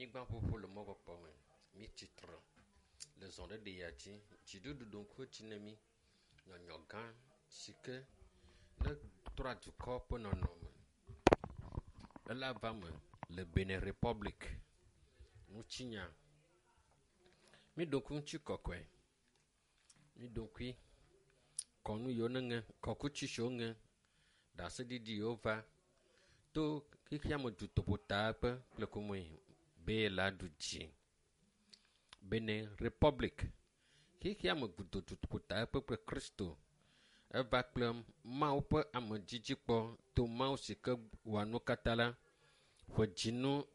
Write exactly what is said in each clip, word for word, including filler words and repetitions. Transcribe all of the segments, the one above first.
Anyigbaƒuƒu le mɔkpɔkpɔ me. Mitsi tre le zɔɖeɖe ya dzi. Dziɖuɖu ɖo ŋku edzi na mi. Nyɔnyɔ gã si ke ne trɔ dukɔ ƒe nɔnɔme. Ela va me le Benin Republic ŋutinya. Miɖo ŋku ŋutikɔkɔe. Miɖo ŋkui kɔnu yiwo neŋe, kɔkuti siwo ŋe, ɖaseɖiɖi yiwo va to xexeame dutoƒotakpe kple kumue be la ɖu dzi. Benin Republic xexeame gudo dutoƒotakpe kple Kristo eva kple Mawu ƒe amedzidzikpɔ to Mawu si ke wɔa nu katã la ƒe dzinu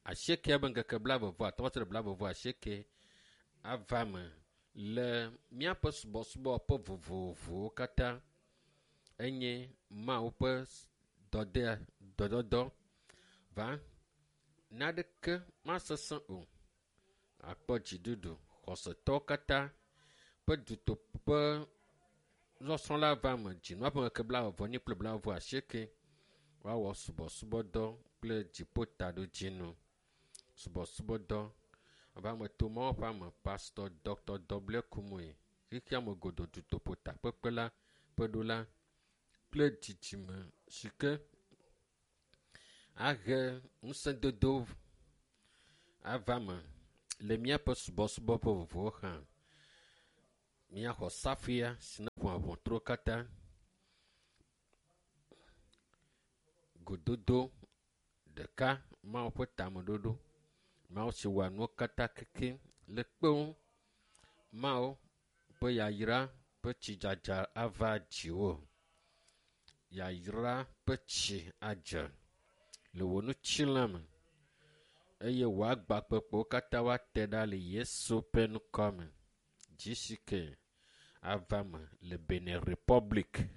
asiekea be ŋkeke blaeve vɔ atɔ̃ va se ɖe blaeve vɔ asieke ava me le míaƒe subɔsubɔ ƒe vovovowo katã enye Mawu ƒe dɔdea dɔdɔdɔ va naneke masesẽ o. Akpɔ dziɖuɖu xɔsetɔwo katã ƒe dutoƒe nusɔsrɔ̃ la va me dzinua ƒe ŋkeke blaeve vɔ enyi kple blaeve vɔ asieke woawɔ subɔsubɔdɔ kple dziƒotaɖodzinu. Subɔsubɔdɔ ava me to Mawu ƒe ame Pastor Dr. W. Kumuyi xexeame godo dutoƒo takpekpe la ƒe ɖola kple dzidzime si ke ahe ŋusẽdodo ava me le míaƒe subɔsubɔ ƒe vovovowo hã. Míaxɔ safuia si ne ƒoa ʋɔtruwo katã. Gododo ɖeka Mawu ƒe tameɖoɖo. Mawu si wɔa nuwo katã kekeŋ le kpewo. Mawu ƒe yayra ƒe tsidzadza ava dziwò. Yayra ƒe tsi adze le wò ŋutilã me eye wò agbakpekpewo katã woate ɖa le Yesu ƒe ŋkɔ me. GCK ava me le Benin Republic.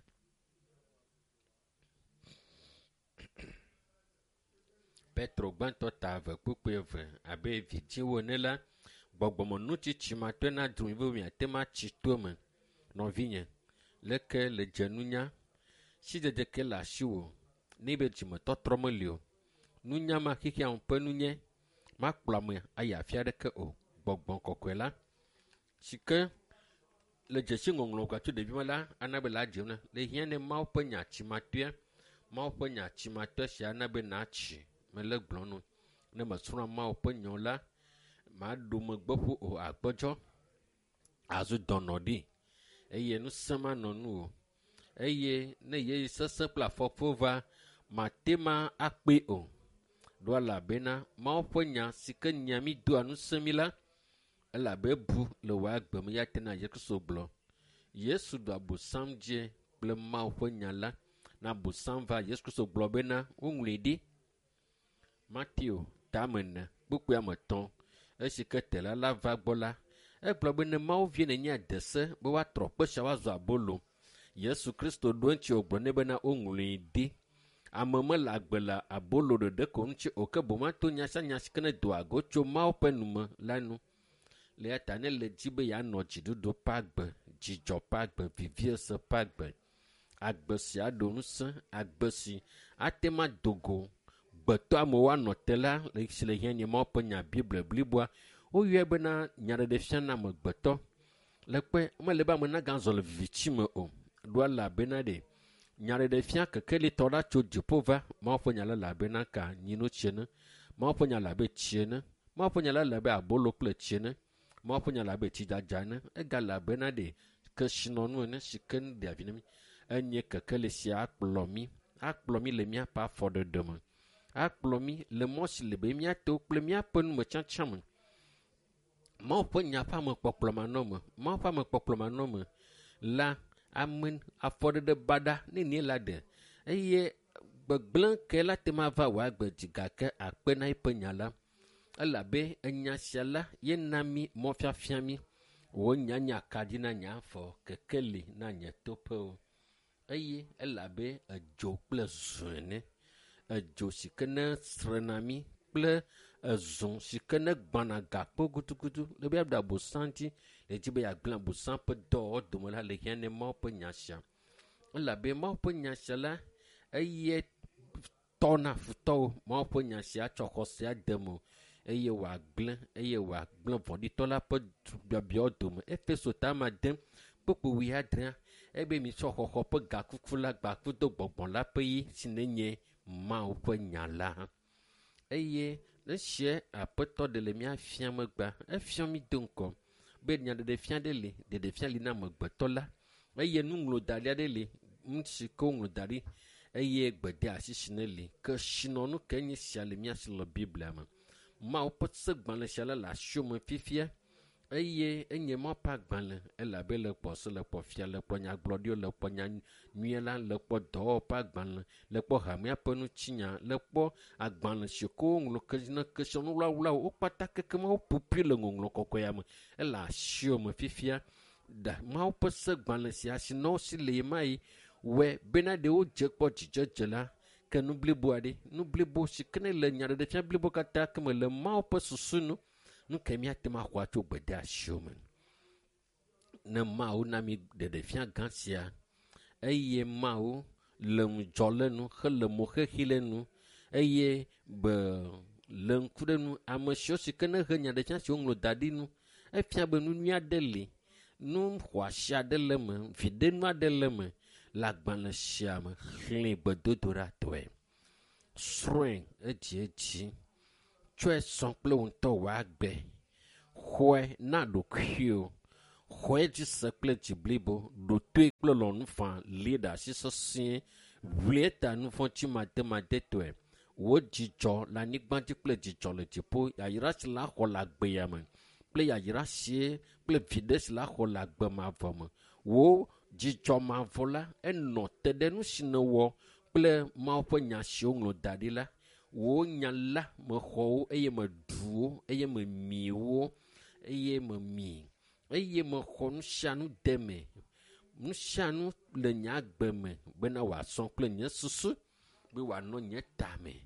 Petro gbãtɔ ta eve kpukpui eve abe vidzĩwo ene la, gbɔgbɔmenutsitsi matɔe na dro mi be miate ŋu atsi to eme. Nɔvinye, leke le dze nunya? Sidzedze ke le asiwò ne be dzimetɔtrɔ meli o. Nunya ma xexea me ƒe nunye makplɔ ame ayi afi aɖeke o. Gbɔgbɔ kɔkɔe la si ke le dzesi ŋɔŋlɔ gatso ɖevi me la ana be la dze na le hiã ne Mawu ƒe nya tsimatɔea Mawu ƒe nya tsimatɔe sia ana be natsi mele gblɔ nu ne mesrɔ̃ Mawu ƒe nya la maɖo megbe ƒu o agbɔdzɔ azu dɔnɔ ɖi eye ŋusẽ manɔ nu o eye ne yeyi sesẽ kple afɔkuwo va mate ma akpee o ɖo elabena Mawu ƒe nya si ke nya mi doa ŋusẽ mi la elabe bu le wò agbe me ya tena Yesu Kristo gblɔ. Yesu ɖu abosam dzi kple Mawu ƒe nya la. Na abosam va Yesu Kristo gblɔ bena woŋlɔe ɖi. Mateo tame ene kpukpui ame etɔ̃ esi ke tela la va gbɔ la egblɔ be ne Mawu vie nenye ade se be woatrɔ kpe sia woazɔ abolo. Yesu Kristo ɖo eŋuti wògblɔ nɛ bena woŋlɔe ɖi. Ame mele agbe le abolo ɖeɖe ko ŋuti o ke boŋ ato nya sia nya si ke ne doa go tso Mawu ƒe nume la nu. Le ya ta ne le dzi be yeanɔ dziɖuɖu ƒe agbe, dzidzɔ ƒe agbe, viviese ƒe agbe, agbe si aɖo ŋusẽ, agbe si ate ŋu ado go gbetɔ amewo anɔ te la le si le hiã nye Mawu ƒe nya Biblia bliboa. Woyɔe bena nyaɖeɖefia na amegbetɔ. Le kpe mele be ame nagazɔ le viviti me o. Ɖo elabena ɖe nyaɖeɖefia kekelitɔ ɖa tso dziƒo va Mawu ƒe nya la le abe naka nyinotsi ene. Mawu ƒe nya le abe tsi ene. Mawu ƒe nya la le abe abolo kple tsi ene. Mawu ƒe nya le abe tsidzadza ene. Egale abe na ɖe kesinɔnu ene si ke nu ɖea vi na mí. Enye kekeli sia akplɔ mí, akplɔ mí le míaƒe afɔɖeɖe me. Akplɔ mí le mɔ si le be míato kple míaƒe numetsatsã me. Mawu ƒe nya ƒe amekpɔkplɔ manɔme, Mawu ƒe amekpɔkplɔ manɔme la, ame afɔɖeɖe baɖa nenie la ɖe eye gbegblẽ ke la te ma va wò agbe dzi gake akpe na eƒe nya la. Elabe enya sia la ye na mí mɔfiafia mí. Wò nya nye akaɖi na nye afɔ, kekeli na nye toƒewo. Eye elabe edzo kple zũ ene. Edzo si ke ne srena mí kple ezũ si ke ne gbãna gakpo gudugudu le be yeaɖu abosam dzi le dzi be yeagblẽ abosam ƒe dɔwɔwɔ dome la le hiã ne Mawu ƒe nya sia. Elabe Mawu ƒe nya sia la eye tɔna futɔwo. Mawu ƒe nya sia tsɔ xɔsea de me o. eye wòagblẽ eye wòagblẽ vɔ̃ɖitɔ la ƒe biabiawo dome. Efeso ta ma dem kpukpu wuiadrea ebe mitsɔ xɔxɔ ƒe gakuku la gbakudo gbɔgbɔ la ƒe yi si nenye Mawu ƒe nya la. Eye esie aƒetɔ ɖe le mía fia megbea, efia mi do ŋgɔ be nyaɖeɖefia ɖe li, ɖeɖefia li na amegbetɔ la eye nuŋlɔdaɖi aɖe li, nu si ke woŋlɔ da ɖi eye gbedeasi si ne li. Kesinɔnu ke nye sia le mía si le Biblia me. Mawu ƒe segbalẽ sia la le asiwò me fifia eye enye Mawu ƒe agbalẽ elabe le kpɔ se, le kpɔ fia, le kpɔ nyagblɔɖiwo, le kpɔ nya nyuie la, le kpɔ dɔwɔwɔ ƒe agbalẽ, le kpɔ hamea ƒe ŋutinya, le kpɔ agbalẽ si ke woŋlɔ ke ne kesinɔnu wlawlawo wo kpata kekem woƒoƒui le ŋɔŋlɔ kɔkɔea me. Ele asiwò me fifia. Da Mawu ƒe segbalẽ sia si nɔ si le ɣemaɣi wɔe bena ɖe wodze kpɔ dzidzedze la ke nu blibo aɖe, nu blibo si ke ne le nyaɖeɖefia blibo katã ke me le Mawu ƒe susu nu, nu ke míate ŋu axɔ atso gbedeasiwo me. Ne Mawu na mi ɖeɖefia gã sia eye Mawu le ŋudzɔ le nu hele mo xexi le nu eye be le ŋku ɖe nu ame siwo si ke ne he nyaɖefia si woŋlɔ da ɖi nu efia be nu nyui aɖe li, nu xɔasi aɖe le eme, viɖenu aɖe le eme le agbalẽ sia me. Xlẽ gbedodoɖatɔe, srɔ̃e edziedzi, tsɔe sɔ kple wò ŋutɔ wò agbe, xɔe na ɖokuiwò, xɔe dzi se kple dzi blibo, ɖo toe kple lɔlɔ̃nu faa, li ɖe asi sesĩe, ʋli eta nu vɔ̃ tsimademadetɔe. Wò dzidzɔ le anyigba dzi kple dzidzɔ le dziƒo, yayra si la xɔ le agbe ya me kple yayra sie kple viɖe si la xɔ le agbe mavɔ me. Wò dzidzɔ mavɔ la enɔ te ɖe nu si nèwɔ kple Mawu ƒe nya si woŋlɔ da ɖi la. Wò nya la mexɔ wo eye meɖu wo eye memi wo eye memi eye mexɔ nu sia nu de me, nu sia nu le nye agbe me bena wòasɔ kple nye susu, be wòanɔ nye tame,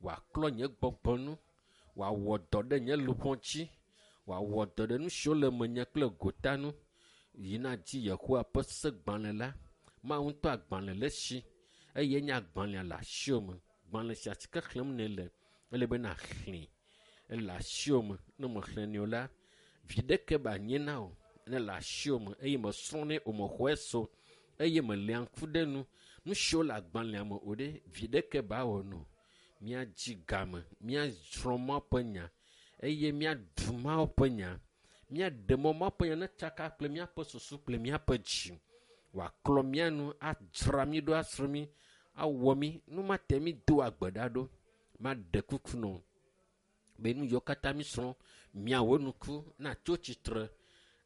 wòaklɔ nye gbɔgbɔ nu, wòawɔ dɔ ɖe nye luʋɔ dzi, wòawɔ dɔ ɖe nu siwo le menye kple gota nu. Yina dzi Yehowa ƒe segbalẽ la, Mawu ŋutɔ agbalẽ le esi eye nye agbalẽa le asiwò me. Gbalẽ sia si ke xlẽm nèle, ele be nàxlẽe. Ele asiwò me. Ne mexlẽnɛ o la, viɖeke ba nye na wò. Ne le asiwò me eye mesrɔ̃nɛ o, mexɔe se o eye meléa ŋku ɖe nu, nu siwo le agbalẽa me o ɖe, viɖeke ba wɔ no. Míadzi game, míasrɔ̃ Mawu ƒe nya eye míaɖu Mawu ƒe nya. Míaɖe mɔ Mawu ƒe nya netsaka kple míaƒe susu kple míaƒe dzi. Wòaklɔ mía nu, adzra mí ɖo, asrɔ̃ mí, awɔ mí. Nu mate mí do agbe ɖa ɖo. Maɖe kuku nɔ be nu yiwo katã mísrɔ̃, míawɔ nuku, natso tsitre,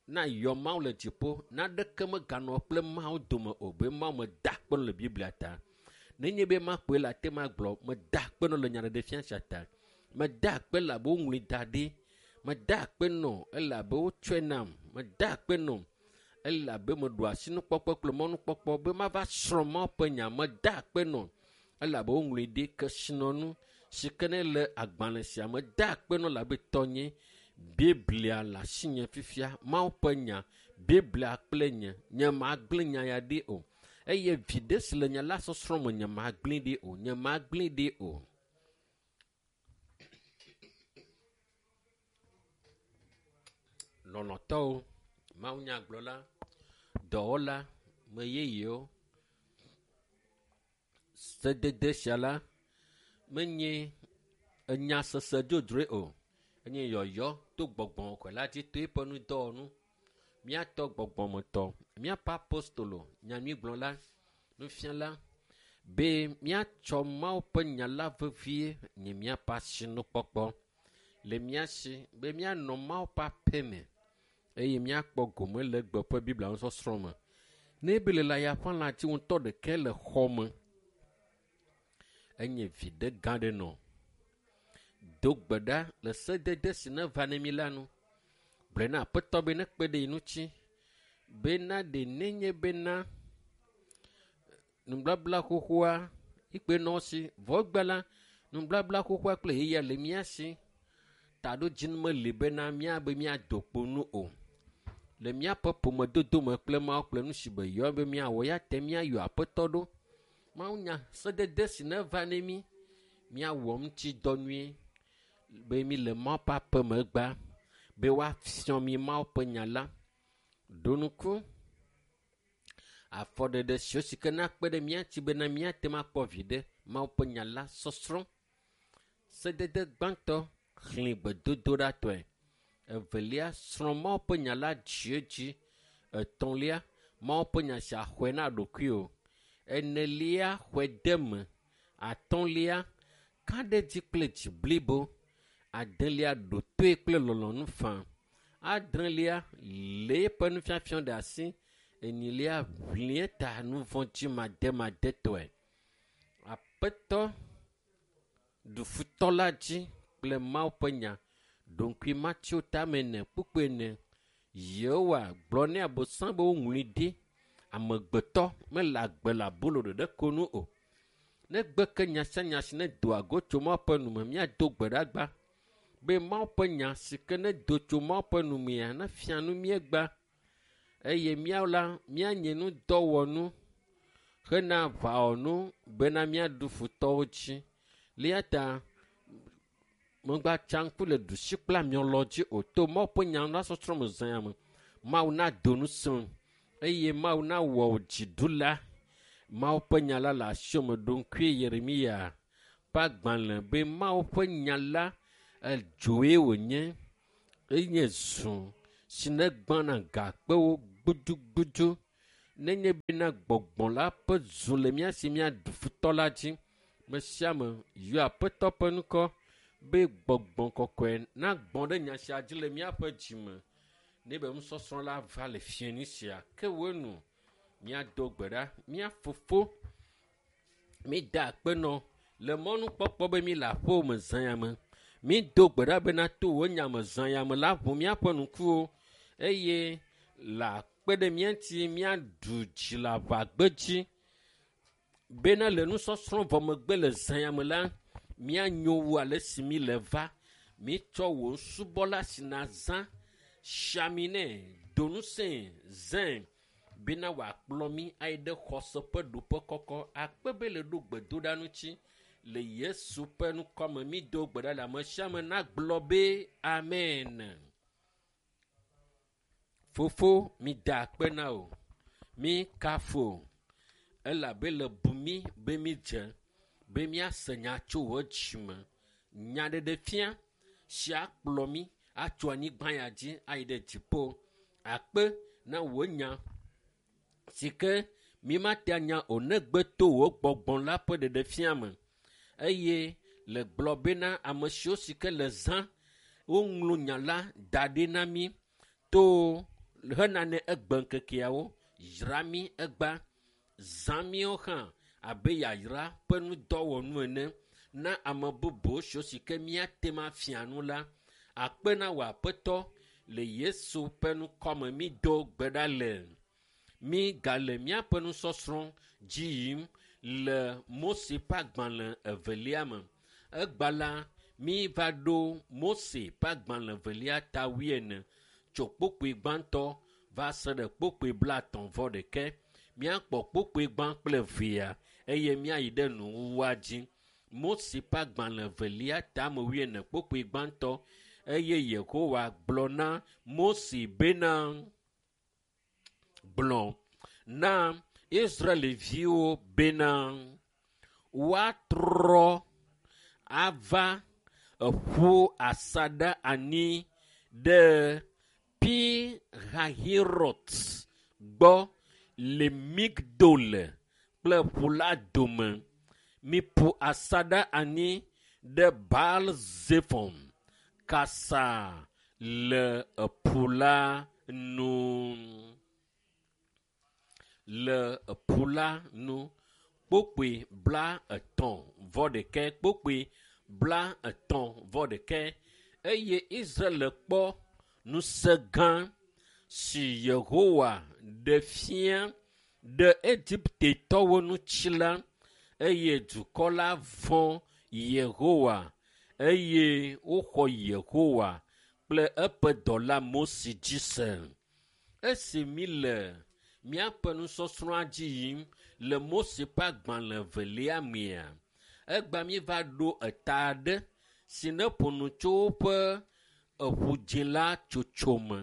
nayɔ Mawu le dziƒo, naɖeke meganɔ kple Mawu dome o, be Mawu meda akpe nɔ le Biblia ta. Nenye be makpɔe le ate magblɔ, meda akpe nɔ le nyaɖeɖefia sia ta. Meda akpe elabe woŋlɔe da ɖi. Meda akpe nɔ elabe wotsɔe nam. Meda akpe nɔ elabe meɖo asinukpɔkpɔ kple mɔnukpɔkpɔ be mava srɔ̃ Mawu ƒe nya. Meda akpe nɔ elabe woŋlɔe ɖi kesinɔnu si ke ne le agbalẽ sia me. Meda akpe nɔ elabe tɔnye Biblia le asinye fifia. Mawu ƒe nya, Biblia kple nye, nye magblẽ nya ya ɖi o. Eye viɖe si le nya la sɔsrɔ̃ me nye magblẽ ɖi o, nye magblẽ ɖi o. Lɔlɔ̃tɔwo, mawunyagblɔla, dɔwɔla, me yeyewo, sedede sia la menye enya sese dzodzroe o, enye yɔyɔ to gbɔgbɔ kɔkɔe la dzi to eƒe nudɔwɔnu. Míatɔ gbɔgbɔmetɔ, míaƒe apostolo, nyanyuigblɔla, nufiala, be míatsɔ Mawu ƒe nya la vevie nye míaƒe asinukpɔkpɔ le mía si be míanɔ Mawu ƒe aƒe me eye míakpɔ gome le egbe ƒe Biblia nusɔsrɔ̃ me. Ne ebe le ya ƒe lã dzi ŋutɔ ɖeke le xɔ me, enye viɖe gã ɖe nɔ. Do gbe ɖa le sedede si neva ne mí la nu. Gblɔe na Aƒetɔ be nekpe ɖe ye ŋuti bena ɖe nenye bena nublabla xoxoa ikpe nɔ si vɔ egbe la nublabla xoxoa kple yeyea le mía si. Taɖodzinu meli bena míabe míado kpo nu o. Le míaƒe ƒomedodo me kple Mawu kple nu si be yɔ be míawɔ ya te míayɔ Aƒetɔ ɖo. Mawu nya sedede si neva ne mí, míawɔ ŋuti dɔ nyuie. Be mi le Mawu ƒe aƒeme gba be woafiɔ mi Mawu ƒe nya la. Ɖo ŋku afɔɖeɖe siwo si ke nakpe ɖe mía ŋuti bena míate ŋu akpɔ viɖe Mawu ƒe nya la sɔsrɔ̃. Sedede gbãtɔ xlẽ gbedodoɖatɔe. Evelia srɔ̃ Mawu ƒe nya la dziedzi. Etɔ̃lia Mawu ƒe nya sia xɔe na ɖokuiwò. Enelia xɔe de me. Atɔ̃lia ka ɖe dzi kple dzi blibo. Adelia ɖo toe kple lɔlɔ̃nu faa. Adrelia lé eƒe nufiafia ɖe asi. Enyilia ʋli ta nu vɔ̃ dzi mademadetɔe. Aƒetɔ ɖu futɔ la dzi kple Mawu ƒe nya. Ɖoŋkui Mateo tame ene kpukpui ene. Yehowa gblɔ nɛ Abosam be woŋlɔe ɖi. Amegbetɔ mele agbe le abolo ɖeɖe ko nu o. Negbe ke nya sia nya si ne doa go tso Mawu ƒe nu me, míado gbe ɖa gba be Mawu ƒe nya si ke ne do tso Mawu ƒe nu mea nefia nu míegba eye míawo la míanye nudɔwɔnu hena aʋawɔnu bena míaɖu futɔwo dzi. Le eya ta megbatsa ŋku le ɖusi kple amiɔlɔ dzi o to Mawu ƒe nya la sɔsrɔ̃ me zã ya me. Mawu nado ŋusẽ eye Mawu nawɔ wò dziɖula. Mawu ƒe nya la le asiwò me. Ɖo ŋkui Yeremia ƒe agbalẽ be Mawu ƒe nya la edzoe wònye enye zu si ne gbãna gakpewo gbudugbudu. Nenye bena gbɔgbɔ la ƒe zu le mía si míaɖu futɔ la dzi. Me sia ame yɔ Aƒetɔ ƒe ŋkɔ be gbɔgbɔ kɔkɔe nagbɔ ɖe nya sia dzi le míaƒe dzime. Ne be nusɔsrɔ̃ la va le fiẽnu sia ke wo nu míado gbe ɖa. Mía fofo mída akpe nɔ le mɔnukpɔkpɔ be mí le aƒewò me zã ya me. Mído gbe ɖa bena to wò nya me zã ya me la ʋu míaƒe ŋkuwo eye le akpe ɖe mía ŋuti míaɖu dzi le aʋagbedzi bena le nusɔsrɔ̃ vɔ megbe le zã ya me la míanyo wu ale si mí le va. Mítsɔ wò subɔla si nazã siami nɛ do ŋusẽe zãe bena wòakplɔ mí ayi ɖe xɔse ƒe ɖoƒe kɔkɔ. Akpe be le ɖo gbedoɖa ŋuti le Yesu ƒe ŋkɔme. Mído gbe ɖa le ame sia ame nagblɔ be amen. Fofo, mída akpe na wò, míkafu wò elabe le bu mí be mídze be míase nya tso wò dzime. Nyaɖeɖefia si akplɔ mí atso anyigba ya dzi ayi ɖe dziƒo. Akpe na wò nya si ke mímate anya o negbe to wò gbɔgbɔ la ƒe ɖeɖefia me. Eye le gblɔ bena ame siwo si ke le zã woŋlɔ nya la da ɖi na mí to hena ne egbe ŋkekeawo yra mí egba zã míawo hã abe yayra ƒe nudɔwɔnu ene na ame bubu siwo si ke míate ŋu afia nu la. Akpe na wò Aƒetɔ le Yesu ƒe ŋkɔme mído gbe ɖa le. Mígale míaƒe nusɔsrɔ̃ dzi yim le Mose ƒe agbalẽ evelia me. Egba la míva ɖo Mose ƒe agbalẽ evelia ta wuiene tso kpukpui gbãtɔ va se ɖe kpukpui blaetɔ̃ vɔ ɖeke. Míakpɔ kpukpui gbã kple evea eye míayi ɖe nuwuwua dzi. Mose ƒe agbalẽ evelia tame wuiene kpukpui gbãtɔ eye Yehowa gblɔ na Mose bena gblɔ na Israelviwo bena woatrɔ ava eƒu asaɖa anyi ɖe Pi-Hahirot gbɔ le Migdol kple ƒu la dome. Miƒu asaɖa anyi ɖe Baal-Zefon kasa le eƒu la nu. Le eƒu la nu kpokpoe bla etɔ̃ vɔ ɖekɛ kpokpoe bla etɔ̃ vɔ ɖekɛ eye Israel kpɔ ŋusẽ gã si Yehowa ɖe fia ɖe Egiptetɔwo ŋuti la eye dukɔ la vɔ̃ Yehowa eye woxɔ Yehowa kple eƒe dɔla Mose dzi se. Esi mí le míaƒe nusɔsrɔ̃a dzi yim le Mose ƒe agbalẽ evelia mea, egba míeva ɖo eta aɖe si ne ƒo nu tso woƒe eʋu la tsotso me.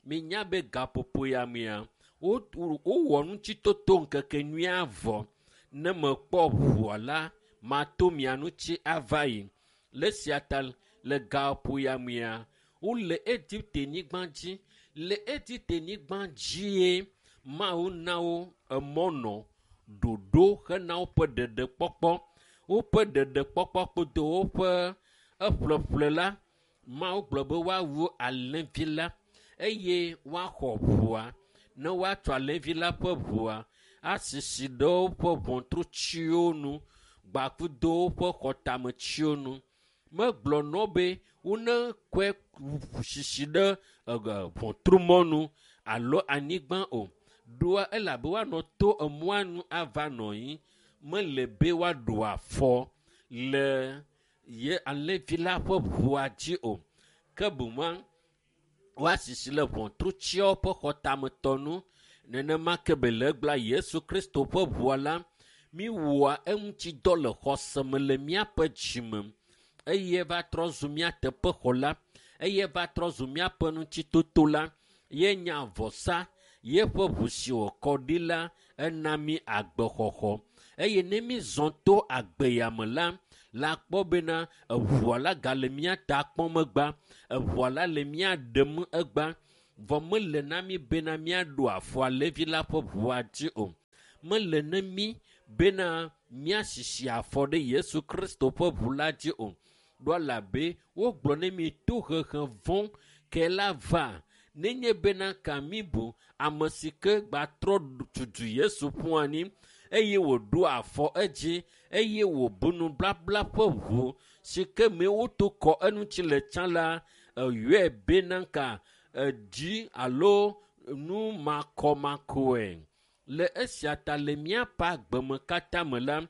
Minya be gaƒoƒo ya mea, wowɔ ŋutitoto ŋkekenyuia vɔ. Ne mekpɔ ʋua la, mato mia ŋuti ava yi. Le esia ta le gaƒoƒo ya mea, wole Egipte nyigba dzi. Le Egipte nyigba dzie Mawu na wo emɔ nɔ ɖoɖo hena woƒe ɖeɖekpɔkpɔ. Woƒe ɖeɖekpɔkpɔ kpodo woƒe eƒleƒle la, Mawu gblɔ be woawu alẽvi la eye woaxɔ ʋua. Ne woatsɔ alẽvi la ƒe ʋua asisi ɖe woƒe ʋɔtrutsiwo nu gbakudo woƒe xɔtametsiwo nu. Megblɔ nɔ be wone kɔe sisi ɖe ʋɔtrumɔnu alo anyigba o. Ɖoa elabe woanɔ to emɔa nu ava nɔ anyi. Mele be woaɖo afɔ le ye alẽvi la ƒe ʋua dzi o. Ke boŋ woasisi le ʋɔtrutsiawo ƒe xɔtametɔ nu. Nenema ke be le egblɔa Yesu Kristo ƒe ʋua la, míwɔa eŋuti dɔ le xɔse me le míaƒe dzime eye va trɔ zu mía teƒexɔla, eye va trɔ zu míaƒe ŋutitoto la, ye nye avɔsa, yeƒe ʋu si wòkɔ ɖi la, ena mí agbexɔxɔ. Eye ne mízɔ to agbe ya me la, la kpɔ bena eʋua la gale mía ta kpɔm egbea, eʋua la le mía ɖem egbea. Vɔ mele na mí bena míaɖo afɔ alẽvi la ƒe ʋua dzi o. Mele ne mí bena míasisi afɔ ɖe Yesu Kristo ƒe ʋu la dzi o. Ɖo elabe wogblɔ ne mí tohehe vɔ̃ ke la va. Nenye bena ka míbu ame si ke gbatrɔ tutu Yesu ƒu anyi eye wòɖo afɔ edzi eye wòbu nublabla ƒe ʋu si ke me woto kɔ eŋuti le tsã la, eyɔe bena ka edzi alo nu makɔmakɔe. Le esia ta le míaƒe agbeme katã me la,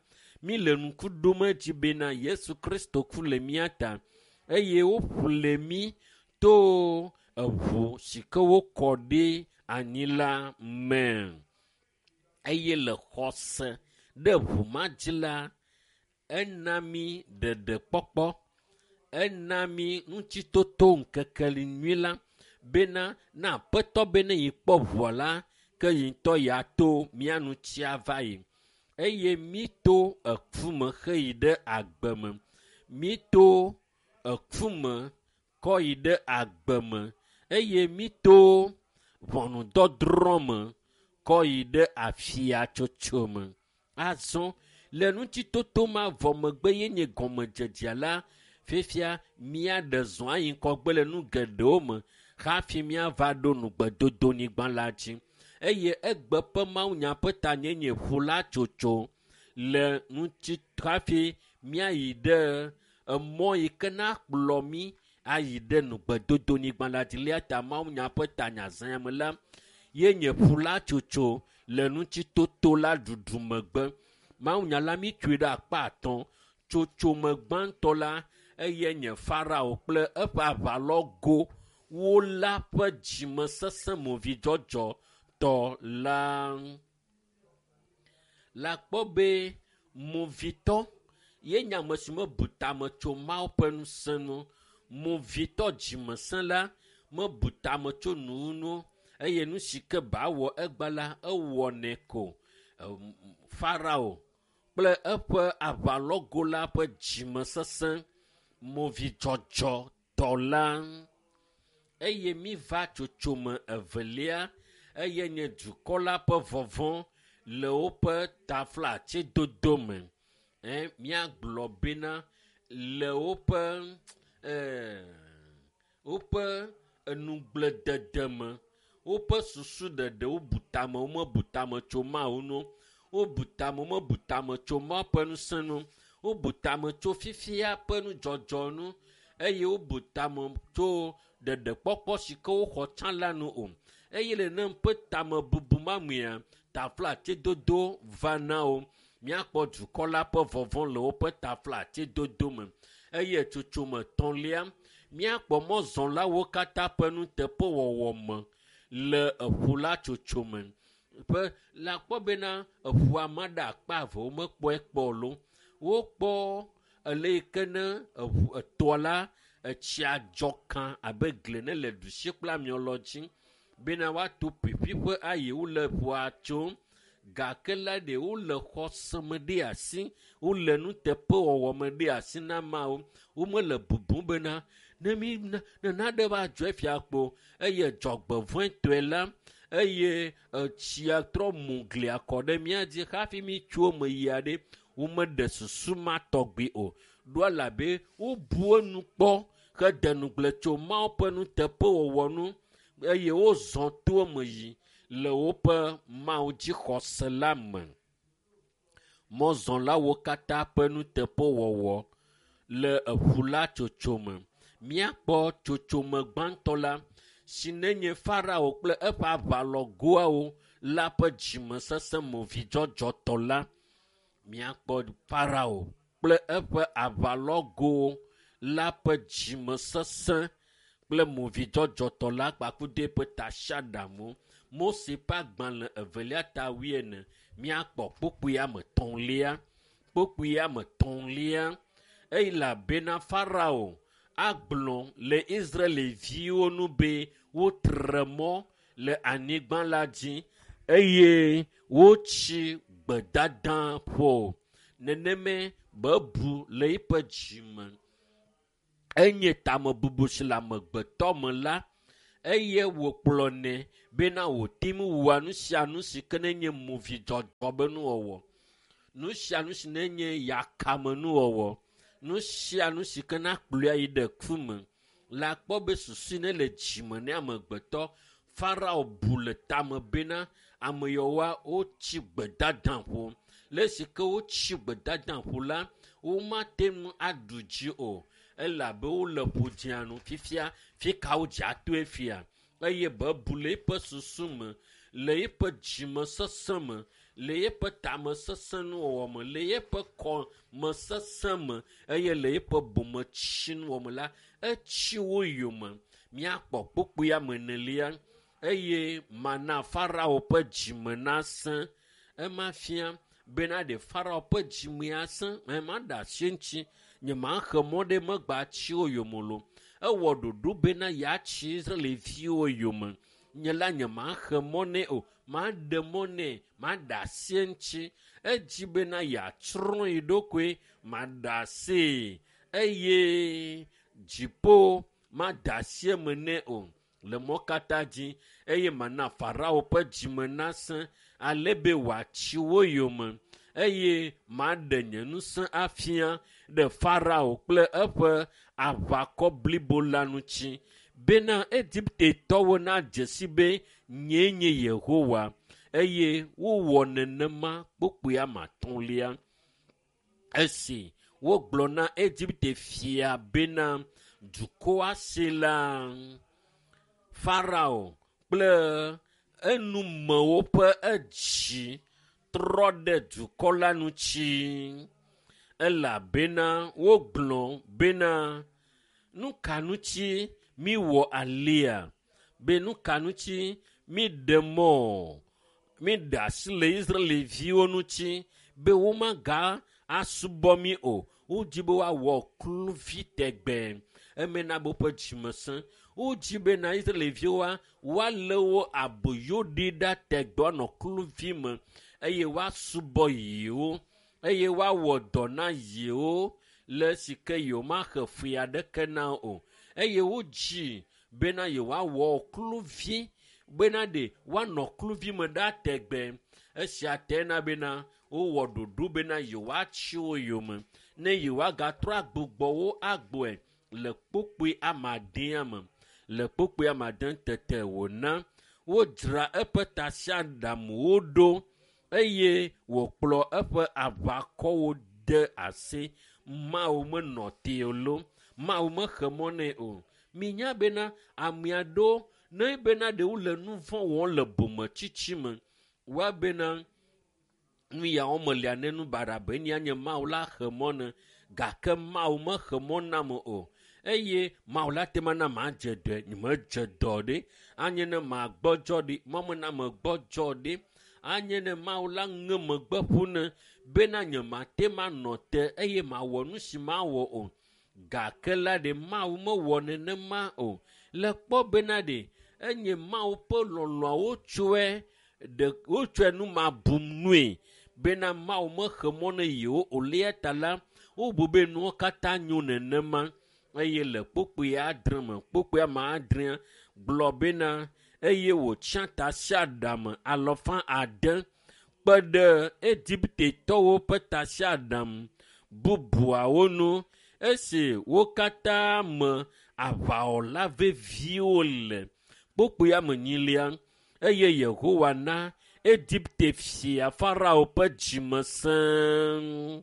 míle ŋku ɖom edzi bena Yesu Kristo ku le mía ta eye woƒle mí to eʋu si ke wokɔ ɖi anyi la me. Eye le xɔse ɖe ʋu ma dzi la, ena mí ɖeɖekpɔkpɔ, ena mí ŋutitoto ŋkeke nyui la bena na Aƒetɔ be ne yi kpɔ ʋua la, ke yi ŋutɔ ya to mía ŋuti ava yi. Eye mí to eku me heyi ɖe agbe me. Mí to eku me kɔ yi ɖe agbe me. Eye mí to ʋɔnudɔdrɔ̃ me kɔ yi ɖe afiatsotso me. Azɔ le ŋutitoto ma vɔ megbe ye nye gɔmedzedzea la, fifia míaɖe zɔ ayi ŋgɔgbe le nu geɖewo me hafi míava ɖo nugbedodonyigba la dzi. Eye egbe ƒe mawunya ƒe tanyenye ʋu la tsotso le ŋuti hafi míayi ɖe emɔ yi ke na kplɔ mí ayi ɖe nugbedodonyigba la dzi. Lia ta mawunya ƒe tanya zã me la, ye nye ʋu la tsotso le ŋutitoto la ɖuɖu megbe. Mawunya la mítsoe ɖe akpa atɔ̃. Tsotso me gbãtɔ la, eye nye Farao kple eƒe aʋalɔgo wo la ƒe dzimesesẽ movidzɔdzɔ tɔ la. La kpɔ be movitɔ ye nye ame si mebu tame tso Mawu ƒe ŋusẽ nu. Movitɔ dzimesẽ la mebu tame tso nu ŋu eye nu si ke ba wɔ egba la ewɔnɛ ko. Farao kple eƒe aʋalɔgo la ƒe dzimesesẽ movidzɔdzɔ tɔ la. Eye mi va tsotsome evelia, eye nye dukɔ la ƒe vɔvɔ̃ le woƒe taflatsedodo me. Ɛ, míagblɔ bena le woƒe, ɛ, woƒe enugbledede me, woƒe susu ɖeɖe wobu tame, womebu tame tso Mawu ŋu, wobu tame, womebu tame tso Mawu ƒe ŋusẽ ŋu, wobu tame tso fifia ƒe nudzɔdzɔ ŋu eye wobu tame tso ɖeɖekpɔkpɔ si ke woxɔ tsã la nu o. Eye le ne ƒe tamebubu ma mea, taflatsedodo va na wo. Míakpɔ dukɔ la ƒe vɔvɔ̃ le woƒe taflatsedodo me. Eye tsotsome etɔ̃lia, míakpɔ mɔzɔlawo katã ƒe nuteƒewɔwɔ me le eƒu la tsotso me. Ƒe la kpɔ bena eƒua ma ɖe akpa eve womekpɔe kpɔ o. Wokpɔ Ele yi ke ne eʋu etɔa la etsia dzɔ kã abe gli ne le ɖusi kple amiɔlɔ dzi bena woato ƒiƒiƒe ayi wole ʋua tsom gake la ɖe wole xɔse me ɖe asi wole nuteƒewɔwɔ me ɖe asi na Mawu. Womele bubum bena ne mi ne nane va dzɔ efia kpo eye dzɔgbevɔ̃etɔe la eye etsia trɔ mu glia kɔ ɖe mía dzi hafi mi tso eme yia ɖe womeɖe susu ma tɔgbi o. Ɖo elabe wobu enu kpɔ hede ŋugble tso Mawu ƒe nuteƒewɔwɔ nu eye wozɔ to eme yi le woƒe Mawu dzixɔse la me. Mɔzɔlawo katã ƒe nuteƒewɔwɔ le eʋu la tsotso me. Míakpɔ tsotsome gbãtɔ la si nenye Farao kple eƒe aʋalɔgoawo la ƒe dzimesesẽ movidzɔdzɔtɔ la. Míakpɔ Farao kple eƒe aʋalɔgowo la ƒe dzimesesẽ kple movidzɔdzɔtɔ la kpakple eƒe tasiaɖamu. Mose ƒe agbalẽ evelia ta wuiene míakpɔ kpukpui ame etɔ̃lia. Kpukpui ame etɔ̃lia elabena Farao agblɔ le Israelviwo nu be wotre mɔ le anyigba la dzi eye wotsi gbedada ƒo. Neneme bebu le eƒe dzime. Enye tamebubu si le amegbetɔ me la eye wòkplɔnɛ bena wòte ŋu wɔa nu sia nu si ke nenye movidzɔdzɔ be nuwɔwɔ. Nu sia nu si nenye yakame nuwɔwɔ. Nu sia nu si ke na kplɔe ayi ɖe ku me. Le akpɔ be susu ne le dzime ne amegbetɔ Farao bu le tame bena ame yawoa wotsi gbedada ƒo. Le esi ke wotsi gbedada ƒo la, womate ŋu aɖu dzi o elabe wole ƒo dzia nu fifia fi ka wodze atoe fia eye bebu le eƒe susu me, le eƒe dzimesesẽ me, le eƒe tamesesẽ nuwɔwɔ me, le eƒe kɔmesesẽ me eye le eƒe bometsinuwɔ me la, etsi wo yome. Míakpɔ kpukpui ame enelia eye mana Farao ƒe dzime nasẽ. Ema fia bena ɖe Farao ƒe dzime asẽ, ema ɖe asi eŋuti. Nyemaxe mɔ ɖe megbe atsi wo yome lo. Ewɔ ɖoɖo bena yeatsi Israelviwo yome. Nye la nyemaxe mɔ nɛ o. Maɖe mɔ nɛ, maɖe asi eŋuti. Edzi bena yeatsrɔ̃ ye ɖokoe, maɖe asii eye dziƒo made asi eme nɛ o le mɔ katã dzi eye mana Farao ƒe dzime nasẽ ale be wòatsi wo yome eye maɖe nye ŋusẽ afia ɖe Farao kple eƒe aʋakɔ blibo la ŋuti bena Egiptetɔwo nadze si be nyee nye Yehowa eye wowɔ nenema kpukpui ame atɔ̃lia. Esi wogblɔ na Egipte fia bena dukɔa si la Farao kple enumewo ƒe edzi trɔ ɖe dukɔ la ŋuti elabena wogblɔ bena nu ka ŋuti miwɔ alia be nu ka ŋuti miɖe mɔ miɖe asi le Israelviwo ŋuti be womaga asubɔ mi o. Wodzi be woawɔ kluvi tegbe. Eme na be woƒe dzime sẽ. Wodzi bena Israelviwoa woalé wo aboyo ɖi ɖa tegbe woanɔ kluvi me eye woasubɔ yewo eye woawɔ dɔ na yewo le esi ke yewomaxe fui aɖeke na o. Eye wodzi bena yewoawɔ kluvi bena ɖe woanɔ kluvi me ɖa tegbe. Esia te na bena wowɔ ɖoɖo bena yewoatsi wo yome ne yewoagatrɔ agbugbɔ wo agbɔe le kpukpui ame adea me. Le kpukpui ame ade tete wòna wodzra eƒe tasiaɖamuwo ɖo eye wòkplɔ eƒe aʋakɔwo de asi. Mawu menɔ te o lo. Mawu mexe mɔ nɛ o. Minya bena ame aɖewo ne bena ɖe wole nu vɔ̃ wɔm le bometsitsi me, woabena nu yawo melia ne nu baɖa be nya nye Mawu la xe mɔ ne gake Mawu mexe mɔ nam o. Eye Mawu la te mana madze dɔe, nyemedze dɔ ɖe. Anye ne magbɔdzɔ ɖi, mɔ mena megbɔdzɔ ɖi. Anye ne Mawu la ŋe megbe ƒu ne bena nye mate manɔ te eye mawɔ nu si mawɔ o. Gake la ɖe Mawu mewɔ nenema o. Le kpɔ bena ɖe enye Mawu ƒe lɔlɔ̃a wotsɔe ɖe wotsɔe nu ma bum nue bena Mawu mexe mɔ ne yewo o lia ta la wobu be nuwo katã nyo nenema eye le kpukpui adre me kpukpui ame adrea gblɔ bena eye wòtsia tasiaɖam alɔfa ade kpe ɖe Egiptetɔwo ƒe tasiaɖam bubuawo nu esi wo katã me aʋawɔla veviwo le. Kpukpui ame enyilia eye Yehowa na Egipte fia Farao ƒe dzime sẽ.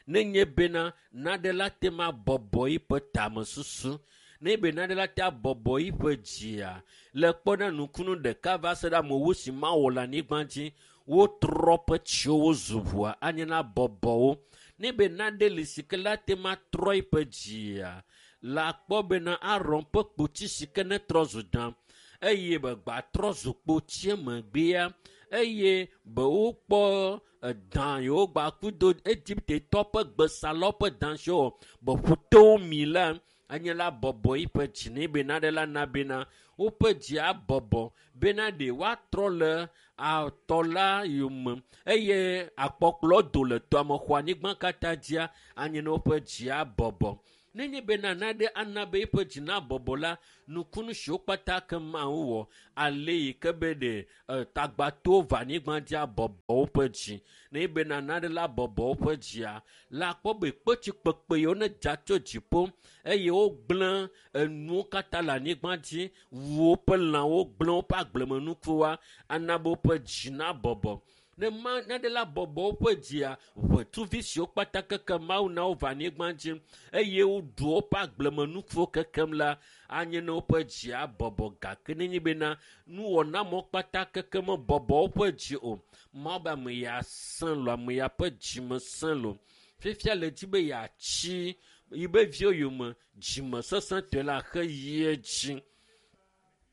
Nenye bena nane la te ma bɔbɔ yiƒe tamesusu, ne be nane la te abɔbɔ yiƒe dzia, le kpɔ na nukunu ɖeka va se ɖe amewo si mawɔ le anyigba dzi, wotrɔ ƒe tsiwo zu ʋua anye na bɔbɔwo. Ne be nane li si ke la te ma trɔ yiƒe dzia, la kpɔ bena Aron ƒe kpotsi si ke ne trɔ zu dã eye be gbatrɔ zu kpotsie megbea eye be wokpɔ edã yiwo gbaku do Egiptetɔ ƒe gbesalɔ ƒe dã siwo be ƒutowo mi la anye la bɔbɔ yiƒe dzi ne be nane la na bena woƒe dzi abɔbɔ bena ɖe woatrɔ le atɔ la yome eye akpɔkplɔ do le tɔa me xɔ anyigba katã dzia anye ne woƒe dzi abɔbɔ. Nenye bena nane ana be eƒe dzi nabɔbɔ la, nukunu siwo kpata ke Mawu wɔ ale yi ke be ɖe tagbatowo va anyigba dzi abɔbɔ woƒe dzi. Ne bena nane la bɔbɔ woƒe dzia, la kpɔ be kpetsi kpekpe yiwo ne dza tso dziƒo eye wogblẽ enuwo katã le anyigba dzi, wu woƒe lãwo, gblẽ woƒe agblemenukuwoa, ana be woƒe dzi nabɔbɔ. Ne ma nane la bɔbɔ woƒe dzia, ʋetuvi siwo kpata keke Mawu na wo va anyigba dzi eye woɖu woƒe agblemenukuwo kekem la, anye ne woƒe dzi abɔbɔ. Gake nenye bena nuwɔnamɔ kpata keke mebɔbɔ woƒe dzi o, Mawu be ame ya sẽ lo, ame ya ƒe dzime sẽ lo. Fifia le dzi be yeatsi yibe viwo yome dzimesesẽtɔe la xe yi edzi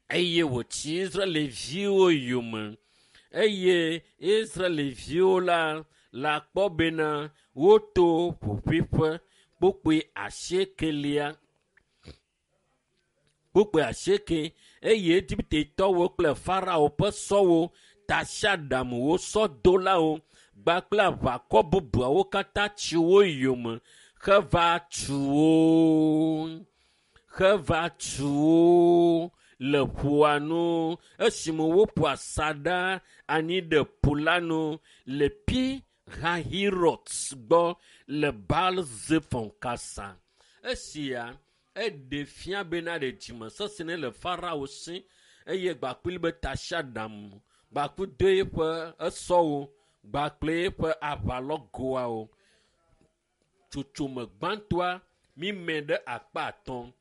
eye wòtsi Israelviwo yome. Eye Israelviwo la la kpɔ bena woto ƒoƒuiƒe kpukpui asiekelia kpukpui asieke eye Egiptetɔwo kple Farao ƒe sɔwo, tasiaɖamwo, sɔdolawo kpakple aʋakɔ bubuawo katã tsi wo yome heva tu wo heva tu wo le ƒua nu esime woƒo asaɖa anyi ɖe ƒu la nu le Pi Hahirot gbɔ le Baal-Zephon kasa. Esia eɖe fia bena ɖe dzimesesẽ ne le Farao si eye gbakpli be tasiaɖam gbaku do eƒe esɔwo gbakple eƒe aʋalɔgoawo. Tsotsome gbãtɔa mime ɖe akpa atɔ̃.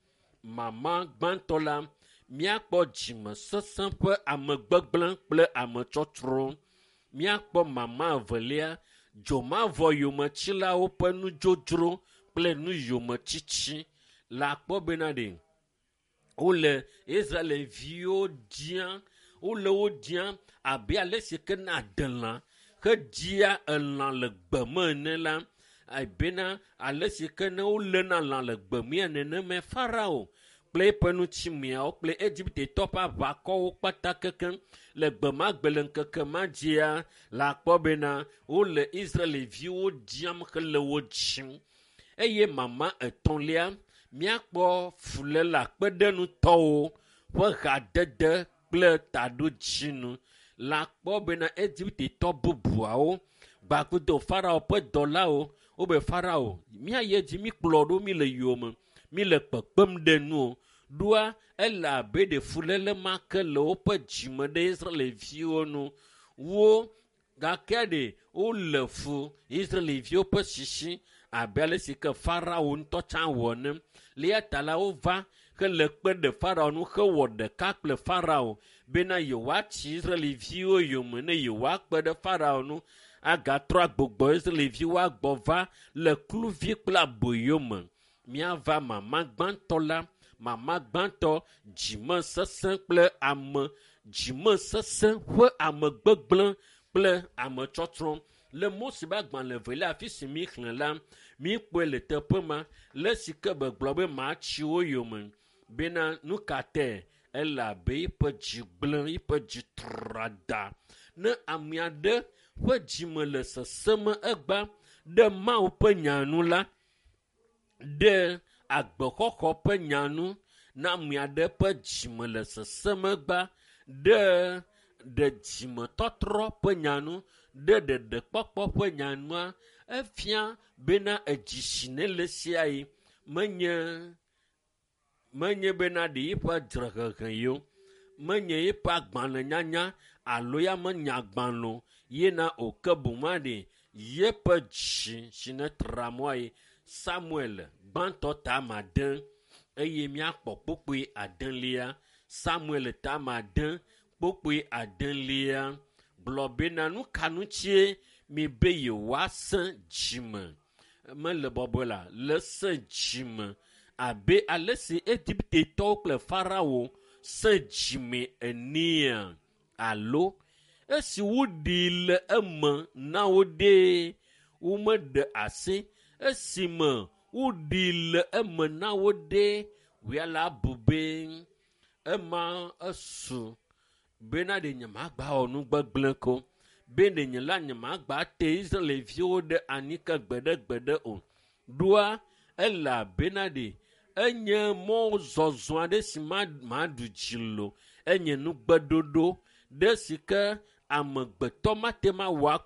Mama gbãtɔ la míakpɔ dzimesesẽ ƒe amegbegblẽ kple ametsɔtsrɔ̃. Míakpɔ mama evelia dzomavɔ yometsilawo ƒe nudzodzro kple nuyometsitsi. La kpɔ bena ɖe wole Israelviwo dzia, wole wo dzia abe ale si ke na adelã hedzia elã le gbe me ene la, ebena ale si ke ne woléna lã le gbe mea nenema Farao kple eƒe ŋutimeawo kple Egiptetɔ ƒe aʋakɔwo kpata kekem le gbe ma gbe le ŋkeke ma dzia la kpɔ bena wole Israelviwo dziam hele wo dzim. Eye mama etɔ̃lia míakpɔ fuléle akpeɖenutɔwo ƒe hadede kple taɖodzinu. La kpɔ bena Egiptetɔ bubuawo gbakudo Farao ƒe dɔlawo wobe Farao míayi edzi míkplɔ ɖo mí le yome mí le kpekpem ɖe nu o. Ɖoa ele abe ɖe fuléle ma ke le woƒe dzime ɖe Israelviwo nu. Wo gake ɖe wole fu Israelviwo ƒe sisi abe ale si ke Farao ŋutɔ tsã wɔ ene. Le eya ta la wova hele kpe ɖe Farao nu hewɔ ɖeka kple Farao bena yewoatsi Israelviwo yome ne yewoakpe ɖe Farao nu agatrɔ agbugbɔ Israelviwo agbɔ va le kluvi kple aboyo me. Míava mama gbãtɔ la, mama gbãtɔ dzimesesẽ kple ame Dzimesesẽ ƒe amegbegblẽ kple ametsɔtsrɔ̃. Le Mose ƒe agbalẽ evelia afi si míxlẽ la, míkpɔe le teƒe ma le esi ke begblɔ be matsi wo yome bena nu ka tae elabe eƒe dzi gblẽ, eƒe dzi tra da. Ne ame aɖe ƒe dzime le sesẽm egba ɖe Mawu ƒe nya nu la, ɖe agbexɔxɔ ƒe nya nu, ne ame aɖe ƒe dzime le sesẽm egba ɖe ɖe dzimetɔtrɔ ƒe nya nu, ɖe ɖeɖekpɔkpɔ ƒe nya nua, efia bena edzi si ne le sia yi menye menye bena ɖe eƒe dzrehehe yi o, menye eƒe agbalẽnyanya alo ya menya agbalẽ o yena o ke boŋ aɖe yeƒe dzi si ne tra mɔa yi. Samuel gbãtɔ ta ade eye míakpɔ kpukpui adelia. Samuel ta ade kpukpui adelia gblɔ bena nu ka ŋutie mibe yewoasẽ dzime mele bɔbɔe la le sẽ dzime abe ale si Egiptetɔwo kple Farao sẽ dzime enea alo esi woɖee le eme na wo ɖee womeɖe asi esime woɖee le eme na wo ɖee wòya la bu be ema esu bena ɖe nyemagba wɔ nu gbegblẽ ko be ɖe nye la nyemagba te Israelviwo ɖe anyi ke gbeɖegbeɖe o. Ɖoa elabena ɖe enye mɔzɔzɔ aɖe si maɖu dzi lo enye nugbeɖoɖo ɖe si ke amegbetɔ mate ma wɔ